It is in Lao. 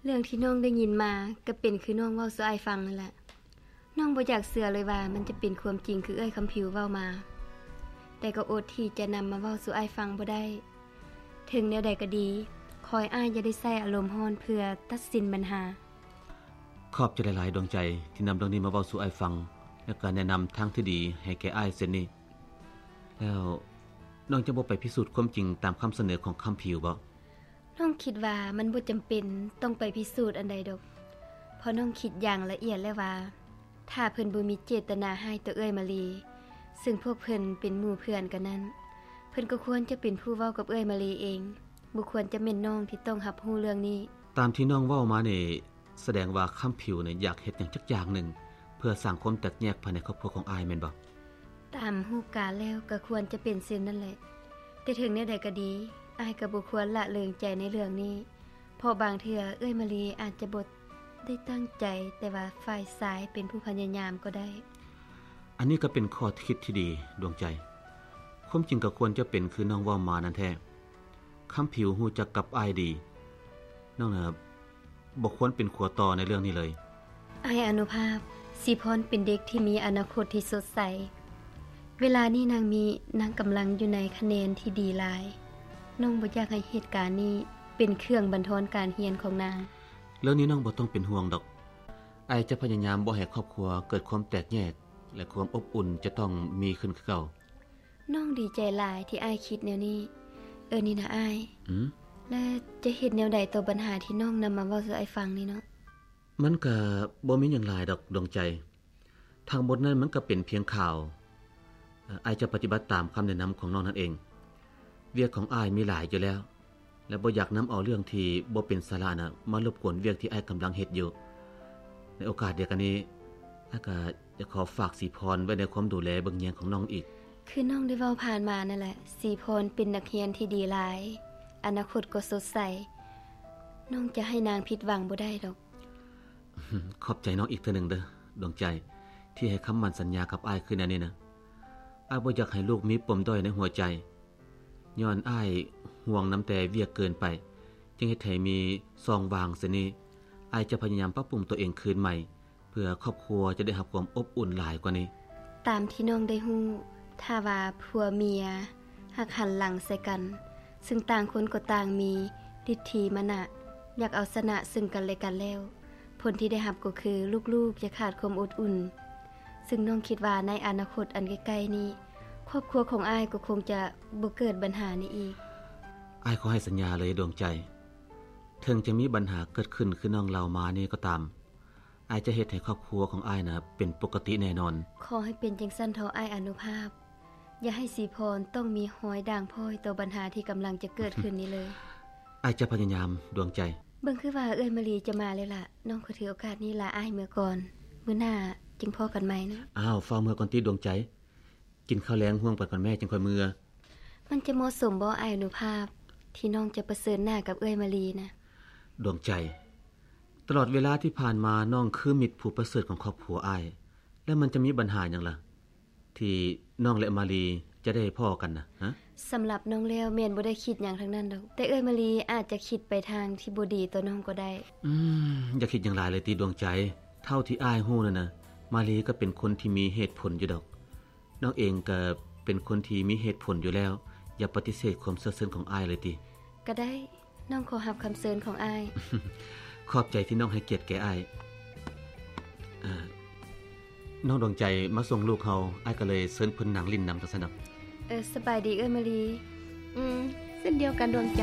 ເລື່ອງທີ່ນ້ອງໄດ້ຍິນມາ ກໍເປັນຄືນ້ອງເວົ້າສູ່ອ້າຍຟັງນັ້ນແຫຼະ. ນ້ອງບໍ່ຢາກເຊື່ອເລີຍວ່າມັນຈະເປັນຄວາມຈິງຄືເອື້ອຍຄຳຜິວເວົ້າມາ, ແຕ່ກໍອົດທີ່ຈະນຳມາເວົ້າສູ່ອ້າຍຟັງບໍ່ໄດ້. ເຖິງແນວໃດກໍດີ, ຂໍໃຫ້ອ້າຍຢ່າໄດ້ໃຊ້ອາລົມຮ້ອນເພື່ອຕັດສິນບັນຫາ. ຂອບໃຈຫຼາຍໆ ດວງໃຈ ທີ່ນຳເລື່ອງນີ້ມາເວົ້າສູ່ອ້າຍຟັງ ແລະ ກະແນະນຳທາງທີ່ດີໃຫ້ແກ່ອ້າຍເຊັ່ນນີ້. ແລ້ວນ້ອງຈະບໍ່ໄປພິສູດຄວາມຈິງຕາມຄຳສະເໜີຂອງຄຳຜິວບໍ? ນ້ອງຄິດວ່າມັນບໍ່ຈຳເປັນຕ້ອງໄປພິສູດອັນໃດດອກ, ເພາະນ້ອງຄິດຢ່າງລະອຽດແລ້ວວ່າ ຖ້າເພິ່ນບໍ່ມີເຈດຕະນາຮ້າຍຕໍ່ເອື້ອຍມາລີ, ເຊິ່ງພວກເພິ່ນເປັນໝູ່ເພື່ອນກັນນັ້ນ, ເພິ່ນກໍຄວນຈະເປັນຜູ້ເວົ້າກັບເອື້ອຍມາລີເອງ, ບໍ່ຄວນຈະແມ່ນນ້ອງທີ່ຕ້ອງຮັບຮູ້ເລື່ອງນີ້. ຕາມທີ່ນ້ອງເວົ້າມານີ້ ສະແດງວ່າຄຳຜິວນີ້ຢາກເຮັດຫຍັງຈັກຢ່າງໜຶ່ງ ເພື່ອສ້າງຄວາມແຕກແຍກພາຍໃນຄອບຄົວຂອງອ້າຍແມ່ນບໍ່? ຕາມຮູບການແລ້ວກໍຄວນຈະເປັນເຊັ່ນນັ້ນແຫຼະ, ແຕ່ເຖິງແນວໃດກໍດີ, ອ້າຍກໍບໍ່ຄວນລະເລີງໃຈໃນເລື່ອງນີ້, ເພາະບາງເທື່ອເອື້ອຍມາລີອາດຈະບໍ່ໄດ້ຕັ້ງໃຈ, ແຕ່ວ່າຝ່າຍຊາຍເປັນຜູ້ພະຍາຍາມກໍໄດ້. ອັນນີ້ກໍເປັນຂໍ້ຄິດທີ່ດີ ດວງໃຈ. ຄວາມຈິງກໍຄວນຈະເປັນຄືນ້ອງເວົ້າມານັ້ນແທ້. ຄຳຜິວຮູ້ຈັກກັບອ້າຍດີ. ນ້ອງນະ ບໍ່ຄວນເປັນຂົວຕໍ່ໃນເລື່ອງນີ້ເລີຍ. ອ້າຍອະນຸພາບ, ສີພອນເປັນເດັກທີ່ມີອະນາຄົດທີ່ສົດໃສ. ເວລານີ້ນາງມີ, ນາງກຳລັງຢູ່ໃນຄະແນນທີ່ດີຫຼາຍ. ນ້ອງບໍ່ຢາກໃຫ້ເຫດການນີ້ເປັນເຄື່ອງບັນທອນການຮຽນຂອງນາງ. ເລື່ອງນີ້ນ້ອງບໍ່ຕ້ອງເປັນຫ່ວງດອກ. ອ້າຍຈະພະຍາຍາມບໍ່ໃຫ້ຄອບຄົວເກີດຄວາມແຕກແຍກ ແລະ ຄວາມອົບອຸ່ນຈະຕ້ອງມີຂຶ້ນຄືເກົ່າ. ນ້ອງດີໃຈຫຼາຍທີ່ອ້າຍຄິດແນວນີ້. ເອີ ນີ້ນະອ້າຍ. ອືມ? ແລະ ຈະເຮັດແນວໃດຕໍ່ບັນຫາທີ່ນ້ອງນຳມາເວົ້າສູ່ອ້າຍຟັງນີ້ເນາະ? ມັນກະບໍ່ມີຫຍັງຫຼາຍດອກ ດວງໃຈ. ທັງໝົດນັ້ນມັນກະເປັນພຽງຂ່າວ. ເອີ ອ້າຍຈະປະຕິບັດຕາມຄຳແນະນຳຂອງນ້ອງນັ້ນເອງ. ວຽກຂອງອ້າຍມີຫຼາຍຢູ່ແລ້ວ. ແລະ ບໍ່ຢາກນຳເອົາເລື່ອງທີ່ບໍ່ເປັນສາລະນະ ມາລົບກວນວຽກທີ່ອ້າຍກຳລັງເຮັດຢູ່. ໃນໂອກາດດຽວກັນນີ້, ອ້າຍກະຢາກຂໍຝາກສີພອນໄວ້ໃນຄວາມດູແລເບິ່ງແຍງຂອງນ້ອງອີກ. ຄືນ້ອງໄດ້ເວົ້າຜ່ານມານັ້ນແຫຼະ, ສີພອນເປັນນັກຮຽນທີ່ດີຫຼາຍ, ອະນາຄົດກໍສົດໃສ. ນ້ອງຈະໃຫ້ນາງຜິດຫວັງບໍ່ໄດ້ດອກ. ຂອບໃຈນ້ອງອີກເທື່ອໜຶ່ງເດີ້ ດວງໃຈ, ທີ່ໃຫ້ຄຳໝັ້ນສັນຍາກັບອ້າຍຄືແນວນີ້ນະ. ອ້າຍບໍ່ຢາກໃຫ້ລູກມີປົມດ້ອຍໃນຫົວໃຈ. ຍ້ອນອ້າຍຫ່ວງນຳແຕ່ວຽກເກີນໄປ, ຈຶ່ງເຮັດໃຫ້ມີຊ່ອງວ່າງເຊັ່ນນີ້. ອ້າຍຈະພະຍາຍາມປັບປຸງຕົວເອງຄືນໃໝ່, ເພື່ອຄອບຄົວຈະໄດ້ຮັບຄວາມອົບອຸ່ນຫຼາຍກວ່ານີ້. ຕາມທີ່ນ້ອງໄດ້ຮູ້, ຖ້າວ່າຜົວເມຍຮັກຫັນຫຼັງໃສ່ກັນ, ເຊິ່ງຕ່າງຄົນກໍຕ່າງມີລິດຖີມະນະ, ຢາກເອົາຊະນະເຊິ່ງກັນແລະກັນແລ້ວ, ຜົນທີ່ໄດ້ຮັບກໍຄືລູກໆຈະຂາດຄວາມອົບອຸ່ນ. ເຊິ່ງນ້ອງຄິດວ່າໃນອະນາຄົດອັນໃກ້ໆນີ້, ຄອບຄົວຂອງອ້າຍກໍຄົງຈະບໍ່ເກີດບັນຫານີ້ອີກ. ອ້າຍຂໍໃຫ້ສັນຍາເລີຍ ດວງໃຈ. ເຖິງຈະມີບັນຫາເກີດຂຶ້ນຄືນ້ອງເລົ່າມານີ້ກໍຕາມ, ອ້າຍຈະເຮັດໃຫ້ຄອບຄົວຂອງອ້າຍນະເປັນປົກກະຕິແນ່ນອນ. ຂໍໃຫ້ເປັນຈັ່ງຊັ້ນເຖາະ ອ້າຍອະນຸພາບ. ຢ່າໃຫ້ສີພອນຕ້ອງມີຮອຍດ່າງພ້ອຍຕໍ່ບັນຫາທີ່ກຳລັງຈະເກີດຂຶ້ນນີ້ເລີຍ. ອ້າຍຈະພະຍາຍາມ ດວງໃຈ. ເບິ່ງຄືວ່າເອື້ອຍມາລີຈະມາແລ້ວລະ, ນ້ອງຂໍຖືໂອກາດນີ້ລາອ້າຍເມືອກ່ອນ, ມື້ໜ້າຈຶ່ງພໍ້ກັນໃໝ່ນະ. ອ້າວ, ຟ້າວເມືອກ່ອນຕິ ດວງໃຈ. ກິນເຂົ້າແລງຮ່ວມກັນກ່ອນແມ້, ຈຶ່ງຄ່ອຍເມືອ. ມັນຈະເໝາະສົມບໍ່ ອ້າຍອະນຸພາບ, ທີ່ນ້ອງຈະປະເຊີນໜ້າກັບເອື້ອຍມາລີນະ? ດວງໃຈ, ຕະຫຼອດເວລາທີ່ຜ່ານມາ, ນ້ອງຄືມິດຜູ້ປະເສີດຂອງຄອບຄົວອ້າຍ, ແລ້ວມັນຈະມີບັນຫາຫຍັງລະ? ທີ່ນ້ອງ ແລະ ມາລີຈະໄດ້ພໍ້ກັນນະ ຮະ? ສຳລັບນ້ອງແລ້ວແມ່ນບໍ່ໄດ້ຄິດຫຍັງທັງນັ້ນດອກ, ແຕ່ເອື້ອຍມາລີອາດຈະຄິດໄປທາງທີ່ບໍ່ດີຕໍ່ນ້ອງກໍໄດ້. ອືມ, ຢ່າຄິດຫຍັງຫຼາຍເລີຍຕິ ດວງໃຈ. ເທົ່າທີ່ອ້າຍຮູ້ນັ້ນນະ, ມາລີກໍເປັນຄົນທີ່ມີເຫດຜົນຢູ່ດອກ. ນ້ອງເອງກໍເປັນຄົນທີ່ມີເຫດຜົນຢູ່ແລ້ວ, ຢ່າປະຕິເສດຄວາມເຊື່ອເຊີນຂອງອ້າຍເລີຍຕິ. ກໍໄດ້. ນ້ອງຂໍຮັບຄຳເຊີນຂອງອ້າຍ. ຂອບໃຈທີ່ນ້ອງໃຫ້ກຽດແກ່ອ້າຍ. ເອີ ນ້ອງດວງໃຈມາສົ່ງລູກເຮົາ, ອ້າຍກໍເລີຍເຊີນເພິ່ນນັ່ງຫຼິ້ນນຳຈັ່ງຊັ້ນດອກ. ເອີ, ສະບາຍດີເອື້ອຍມາລີ. ອືມ, ເຊັ່ນດຽວກັນດວງໃຈ.